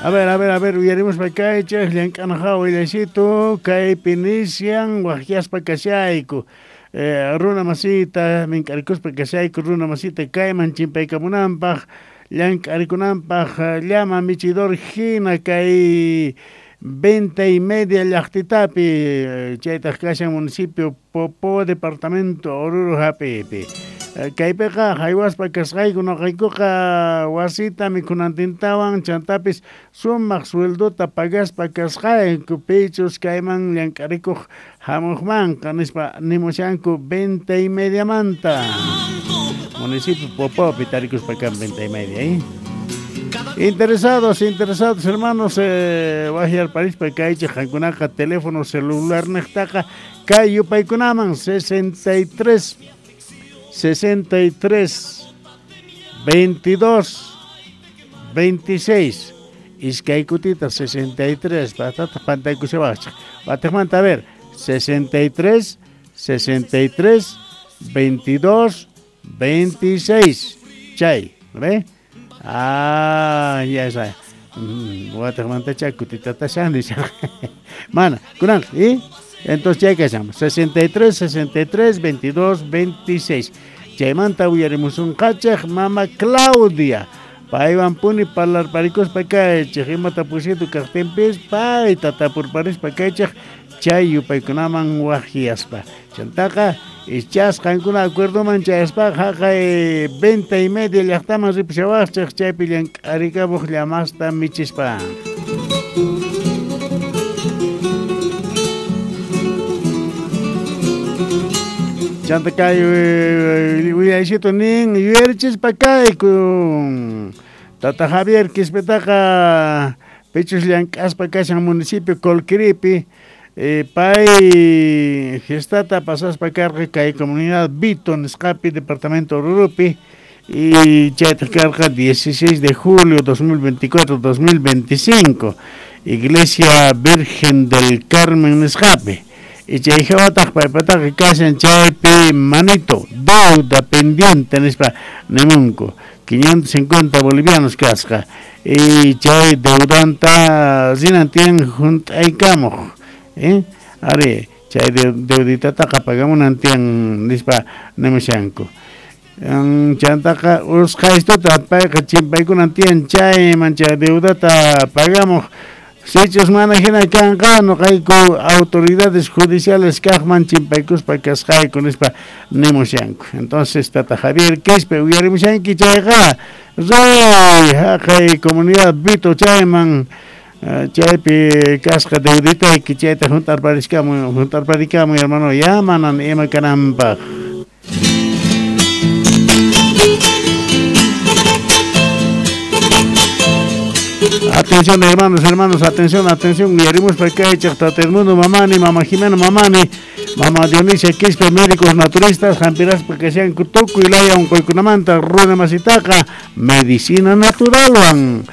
A ver, a ver, a ver, uyarimuspa kaychej llank'ana hawa willaysitu kaypi nisyan waqyaspa kashayku. Runa masita mink'arikuspa kashayku runa masita kayman chimpaykamunanpaq llank'arikunanpaq llama michidor hina kay Venta y Media llaqtitapi chaytaq kashan municipio Popo departamento Oruro hap'iypi. Kaypiqa haywaspa kasqayku noqaykuqa wasita mikhunantintawan chantapis sumaq sueldota pagaspa kasqayku pichus kayman llank'arikuq hamuqmanqa nispa nimushanku Venta y Mediamanta. Municipio Popopi tarikuspa kan Venta y Media, ¿eh? Interesados, interesados hermanos, waqyarparispa kaychej qankunaqa teléfono celular niqtaqa kay yupaykunaman 63 63 22 26 iskay kutita 63 patata pantaykushawaqchej watejmanta a ver 63 63 22 26 chay, ¿ve? Ah, ya está. Watejmanta kutitata shan Mana, kunan, ¿y? Entonces chay kashan 63 63 22 26. Chaymanta uyarimusunqachej mama Claudia. Paywan puni parlarparikuspa kaychej imata pusitu kaqtinpis payta tapurparispa kaychej chay yupaykunaman waqyaspa. Chantaqa ichas qankuna acuerdoman chayaspaqa haqay Venta y Media llaqtaman ripushawaqchej chaypi llank'arikamuq llamasta michispa. Chanta kay willaysitu nin yuyarichispa kayku Tata Javier Quispetaqa pichus llank'aspa kashan municipio Colquiripi pay fiestata pasaspa karqa kay comunidad Vito nisqapi departamento Orurupi y chaytaq karqa 16 de julio 2024-2025 Iglesia Virgen del Carmen nisqapi. Y chay hawataq paypataqa kashan chaypi manito deuda pendiente nispa nimunku 550 bolivianos kasqa y chay deudanta rinan tiyan junt'aykamuq ari chay deuditataqa pagamunan tiyan nispa nimushanku. Chantaqa usqhaystuta payqa chimpaykunan tiyan chayman chay deudata pagamuq. Sichus mana hina kanqa noqayku autoridades judiciales kaqman chimpaykuspa kasqayku nispa nimushanku. Entonces Tata Javier Quispe uyarimushanki chayqa ray haqay comunidad Vito chayman chaypi kasqa deuditayki chayta juntarparikamuy hermano ya manan ima kananpaq. Atención hermanos, hermanos, atención, atención. Uyarimuspa kaychej Tata Edmundo Mamani, Mama Jimena Mamani, Mama Dionisia Quispe, médicos naturistas, hampiraspa kashanku tukuy laya unquykunamanta runa masitaqa medicina naturalwan.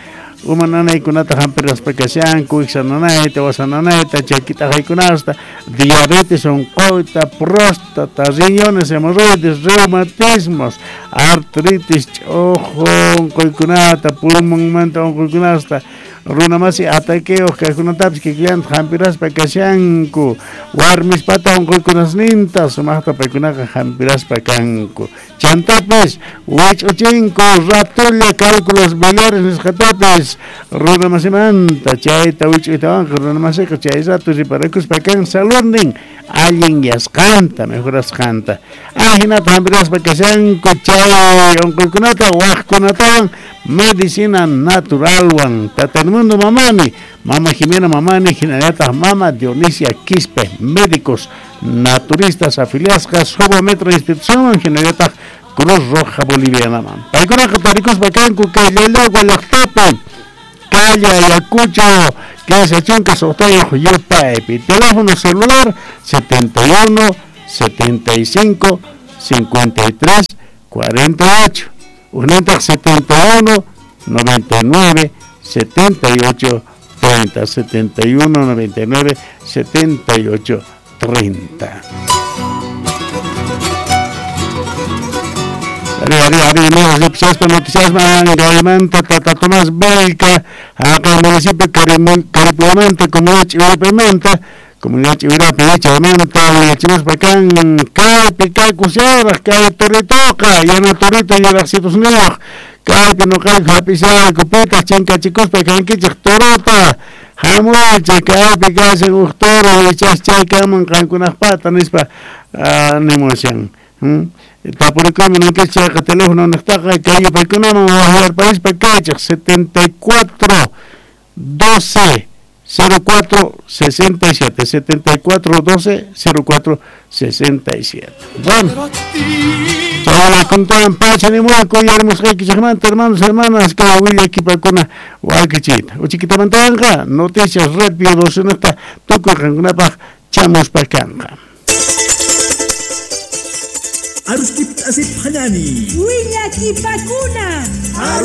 Uma nanaykunata hampiraspa kashanku, iksa nanayta, wasa nanayta, chakitaqaykunasta, diabetes unquyta, próstata, riñones, hemorroides, reumatismos, artritis, ch'uju unquykunata, pulmonmanta unquykunasta, runa masi ataqueos kaqkunatapis kikillantaq hampiraspa kashanku, warmispata unquykunasninta sumaqta paykunaqa hampiraspa kanku. Chantapis wich'uchinku ratolla cálculos biliares nisqatapis runa masimanta chayta wich'uytawanqa runa masiqa chay rato riparakuspa kan saludnin allin yasqanta mejorasqanta. Ajinata hampiraspa kashanku chay unquykunata waqkunatawan medicina naturalwan. Tata Edmundo Mamani, Mama Jimena Mamani, hinallataq Mama Dionisia Quispe, médicos naturistas afiliasqas Metro institución hinallataq Cruz Roja Bolivianaman. Paykunaqa tarikuspa kanku kay Llallagua llaqtapi, calle Ayacucho, 15 6 yupaypi. Teléfono celular 71 75 53 48. Ujnintaq 71 99 78 30 71 99 78 30. Ari ari ari no ripsaspa noticiasman gaymanta Tata Tomás Vilca haqay municipio Caripuamanta comunidad Chihuahuapimanta comunidad Chihuirapi chaymanta willachimuspa kan kaypi kakusharaq kay toritoqa yana torito yuraqsitusniyuq kaypi nuqayku hap'ishayku pitaq chinkachikuspa kankichik torota hamuychik kaypi kashan uj toro ichas chay kanman qankunaqpata nispa nimushan. Tapurikuyman ninkichik chayqa teléfono niqtaqa kay yupaykunaman waqyarparispa kaychik 74 12 04 67 74 12 04 67. Bueno, chayna kuntan pacha nimuyku yarimusqaykichikmanta hermanos, hermanas, kay willakipakuna wakichiyta. Uchikitamantawanqa noticias red bio 12 tukuy qankunapaq chamuspa kanqa. Aruskip asip hanani. Willakipakuna.